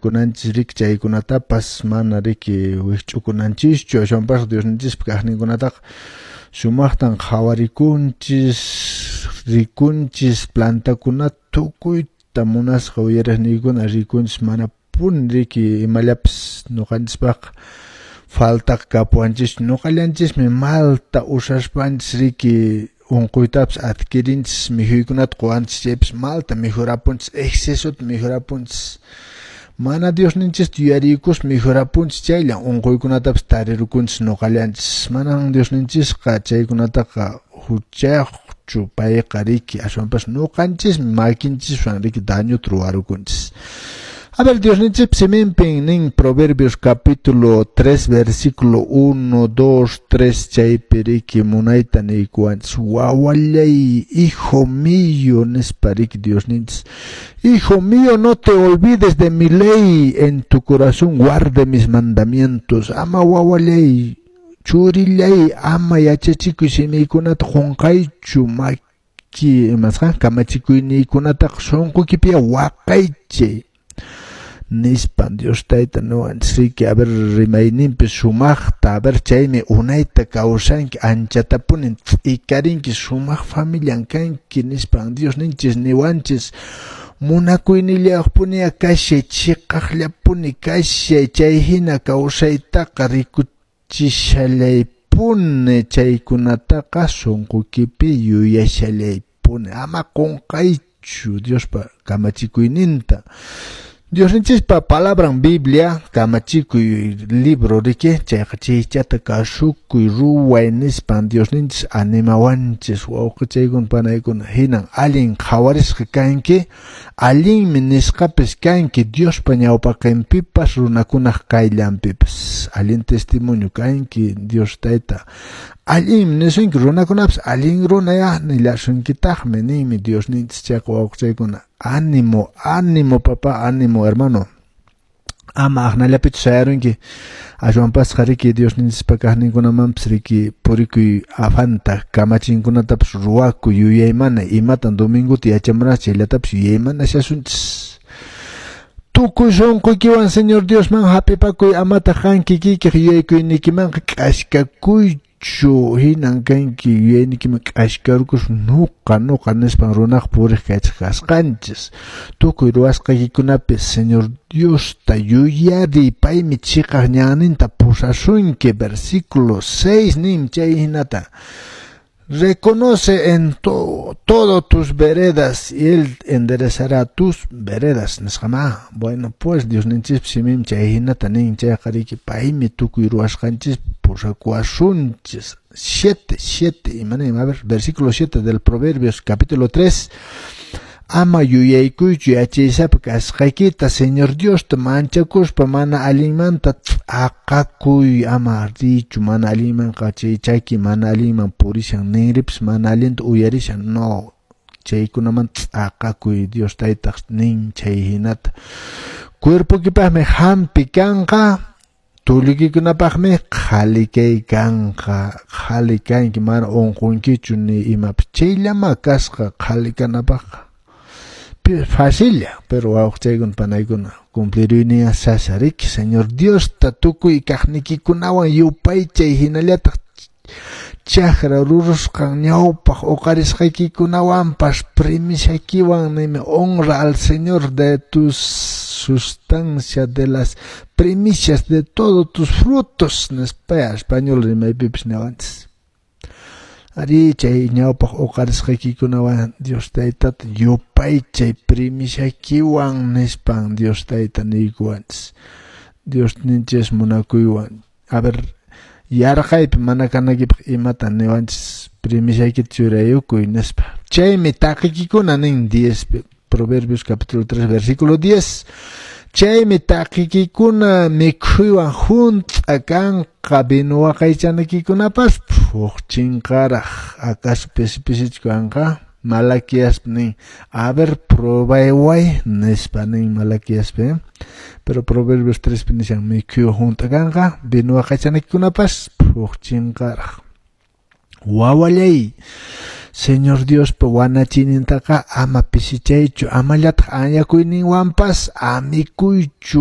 Qhawarikunanchis riki chaykunatapas, mana riki wikch'ukunanchischu, ashwanpas Diosninchispa kaqninkunataqa sumaqtan qhawarikunchis, rikunchis plantakunata tukuyta munasqa uyariqniykuna rikunchis, manapuni riki imallapas ñuqanchispaqqa faltaqa kapuwanchischu. Ñuqallanchismi malta usaspanchis riki unquytapas adquirinchis, mikhuykunata quwanchis chaypas malta mikhurapunchis, excesota mikhurapunchis. Mana Diosninchista yuyariykuspa mikhurapunchis chayllan unquykunatapas tarirukunchis ñuqallanchis. Manan Diosninchisqa chaykunataqa huchayuqchu payqa riki, ashwanpas ñuqanchismi makinchiswan riki dañota ruwarukunchis. A ver, Diosninchis siminpin nin Proverbios capítulo 3 versículo 1, 2, 3 chaypi riki munayta niykuwanchis. Wawallay, hijo mío, nispa riki Diosninchis. Hijo mío, no te olvides de mi ley, en tu corazón guarde mis mandamientos. Ama wawallay, churillay, ama yachachikuy simiykunata qunqaychu, maki imasqa kamachikuyniykunataqa sunquykipiya waqaychay. Nispan Dios tayta niwanchis riki, a ver, rimayninpi sumaqta, a ver, chaymi unayta kawsanki, anchatapuni t'ikarinki, sumaq familian kanki nispan Dios ninchis niwanchis. Munakuynillayuqpuniya kashay, chiqaqllapuni kashay, chay hina kawsaytaqa rikuchishallaypuni, chaykunataqa sunquykipi yuyashallaypuni, ama qunqaychu Diospa kamachikuyninta. Diosninchispa palabran Biblia, kamachikuy libro riki, chayqa chaychata kasukuy ruway nispan Diosninchis animawanchis, wawqichaykuna panaykuna, hinan allin qhawarisqa kanki, allinmi nisqapis kanki Diospa ñawpaqinpipas runakunaq qayllanpipas, allin testimonio kanki Dios tayta, allinmi nisunki runakunapas allin runaya nillasunkitaqmi ninmi Diosninchis. Chayqa wawqichaykuna, ánimo, ánimo papá, ánimo hermano. Ama aqnallapichu sayarunki, ashwanpasqa riki Diosninchispa kaqninkunamanpas riki purikuy afanta, kamachinkunatapas ruwakuy, yuyaymana imatan domingota yachamurasqa chayllatapis yuyaymanashasunchis. Tukuy sunquykiwan Señor Diosman hap'ipakuy, amataq qan kikiykiq yuyaykuynikimanqa k'askakuychu, hinan kanki yuyaynikiman k'askarukus nuqa nuqa nispan runaq puriq kaychik kasqanchis. Tukuy ruwasqaykikunapi Señor Diosta yuyariy, paymi chiqaq ñanninta pusasunki. Versículo 6 nin chay hinata. Reconoce en todo tus veredas y él enderezará tus veredas. Nisqama. Bueno, pues Diosninchis simim chay hinata nin chayqa riki paymi tukuy ruwasqanchis pusakuwasunchis. 7, 7, imanin, a ver, versículo 7 del Proverbios capítulo 3. Ama yuyaykuychu yachaysapa kasqaykita, Señor Diosta manchakuspa mana allinmanta t'aqakuy, ama richu mana allinmanqa chay chaki mana allinman purishan, ninripas mana allinta uyarishan, no, chaykunamanta t'aqakuy, Dios taytaq nin chay hinata. Cuerpoykipaqmi hampi kanqa, tulluykikunapaqmi qhali kay kanqa, qhali kanki, mana unqunkichu ni imapas, chayllama kasqa qhali kanapaqqa. Facilla, pero wawqichaykuna panaykuna cumpliruyniya sasa riki. Señor Diosta tukuy kaqnikikunawan yupaychay, hinallataq chakra rurusqan ñawpaq uqarisqaykikunawanpas primisaykiwan nimi, honra al Señor de tus sustancia, de las primicias de todos tus frutos, nispa español rimaypipis niwanchis. Ari chay ñawpaq uqarisqaykikunawan Dios taytata yupaychay primisaykiwan nispan Dios tayta niykuwanchis. Dios ninchis munakuywan. A ver, yarqaypi mana kanaykipaq imata niwanchis primisaykita churayukuy nispa. Chaymi taqiykikuna nin 10 Proverbios capítulo 3 versículo 10. Chaymi taqiykikuna mikhuywan hunt'a kanqa, vino waqaychanakikunapas phuqchinqaraq, acaso pisi pisichu kanqa? Malaquiaspi nin, a ver, probayway nispa nin Malaquiaspi, Pero Proverbios 3 pi nishan mikhuywan hunt'a kanqa, vino waqaychanakikunapas phuqchinqaraq. Wawallay, Señor Diospa wanachiynintaqa ama pisichaychu, amallataq anyakuyninwanpas amikuychu.